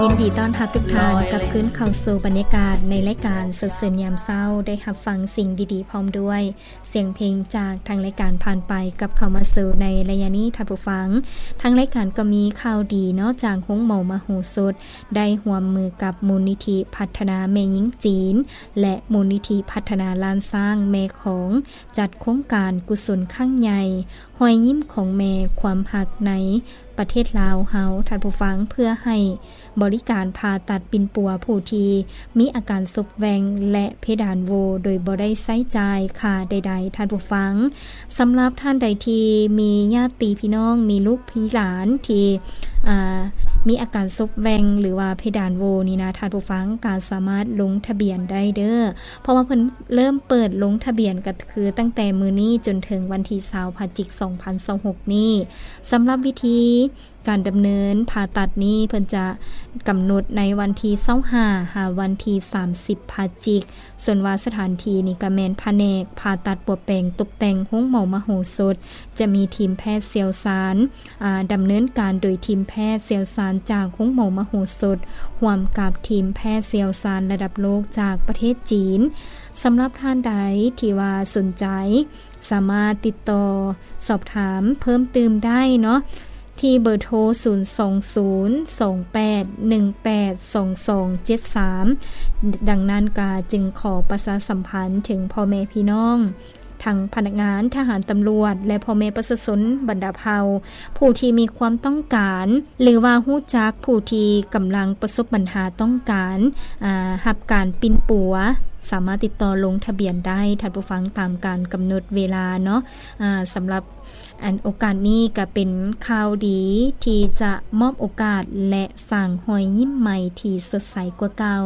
ຍິນດີຕ້ອນຮັບທຸກທ່ານກັບຄືນເຂົ້າສູ່ບັນຍາກາດໃນລາຍການສົດຊື່ນຍາມເຊົ້າ, ໄດ້ຮັບຟັງສິ່ງດີໆພ້ອມດ້ວຍສຽງເພງຈາກທາງລາຍການ. ຜ່ານໄປກັບເຂົ້າມາສູ່ໃນໄລຍະນີ້ທ່ານຜູ້ຟັງ, ທາງລາຍການກໍມີຂ່າວດີເນາະ ຈາກໂຮງໝໍມະໂຫສົດ ໄດ້ຮ່ວມມືກັບມູນນິທິພັດທະນາແມ່ຍິງຈີນ ແລະ ມູນນິທິພັດທະນາລ້ານຊ້າງແມ່ຂອງ ຈັດໂຄງການກຸສົນຄັ້ງໃຫຍ່ ຮອຍຍິ້ມຂອງແມ່ ຄວາມຮັກໃນປະເທດລາວເຮົາ ທ່ານຜູ້ຟັງ, ເພື່ອໃຫ້ບໍລິການຜ່າຕັດປິ່ນປົວຜູ້ທີ່ມີອາການສົບແຫວ່ງ ແລະ ເພດານໂຫວ່ໂດຍບໍ່ໄດ້ໃຊ້ຈ່າຍຄ່າໃດໆ ທ່ານຜູ້ຟັງ. ສຳລັບທ່ານໃດທີ່ມີຍາດຕິພີ່ນ້ອງ ມີລູກມີຫຼານທີ່ ອ່າ ມີອາການສົບແຫວ່ງ ຫຼືວ່າເພດານໂຫວ່ນີ້ນະ ທ່ານຜູ້ຟັງກໍສາມາດລົງທະບຽນໄດ້ເດີ້ ເພາະວ່າເພິ່ນເລີ່ມເປີດລົງທະບຽນກໍຄືຕັ້ງແຕ່ມື້ນີ້ຈົນເຖິງວັນທີຊາວ ພະຈິກ ສອງພັນຊາວຫົກນີ້. ສຳລັບວິທີການດຳເນີນຜ່າຕັດນີ້ ເພິ່ນຈະກຳນົດໃນວັນທີຊາວຫ້າ ຫາວັນທີສາມສິບ ພະຈິກ. ສ່ວນວ່າສະຖານທີ່ນີ້ກໍແມ່ນພະແນກຜ່າຕັດປົວແປງຕົກແຕ່ງໂຮງໝໍມະໂຫສົດ, ຈະມີທີມແພດຊ່ຽວຊານ ອ່າ ດຳເນີນການໂດຍທີມແພດຊ່ຽວຊານຈາກໂຮງໝໍມະໂຫສົດ ຮ່ວມກັບທີມແພດຊ່ຽວຊານລະດັບໂລກຈາກປະເທດຈີນ. ສຳລັບທ່ານໃດທີ່ວ່າສົນໃຈ ສາມາດຕິດຕໍ່ສອບຖາມເພີ່ມຕື່ມໄດ້ເນາະ ທີ່ເບີໂທ ສູນສອງສູນ ສອງແປດ ໜຶ່ງແປດ ສອງສອງເຈັດສາມ. ດັ່ງນັ້ນກໍຈຶ່ງຂໍປະຊາສຳພັນເຖິງພໍ່ແມ່ພີ່ນ້ອງ ທັງພະນັກງານ, ທະຫານ, ຕຳຫຼວດ ແລະ ພໍ່ແມ່ປະຊາຊົນບັນດາເຜົ່າ ຜູ້ທີ່ມີຄວາມຕ້ອງການ ຫຼືວ່າຮູ້ຈັກຜູ້ທີ່ກຳລັງປະສົບບັນຫາຕ້ອງການ ອ່າ ຮັບການປິ່ນປົວ ສາມາດຕິດຕໍ່ລົງທະບຽນໄດ້ ທ່ານຜູ້ຟັງ, ຕາມການກຳນົດເວລາເນາະ. ອ່າ ສຳລັບ ອັນ ໂອກາດນີ້ກໍເປັນຂ່າວດີທີ່ຈະມອບໂອກາດ ແລະ ສ້າງຮອຍຍິ້ມໃໝ່ທີ່ສົດໃສກວ່າເກົ່າ.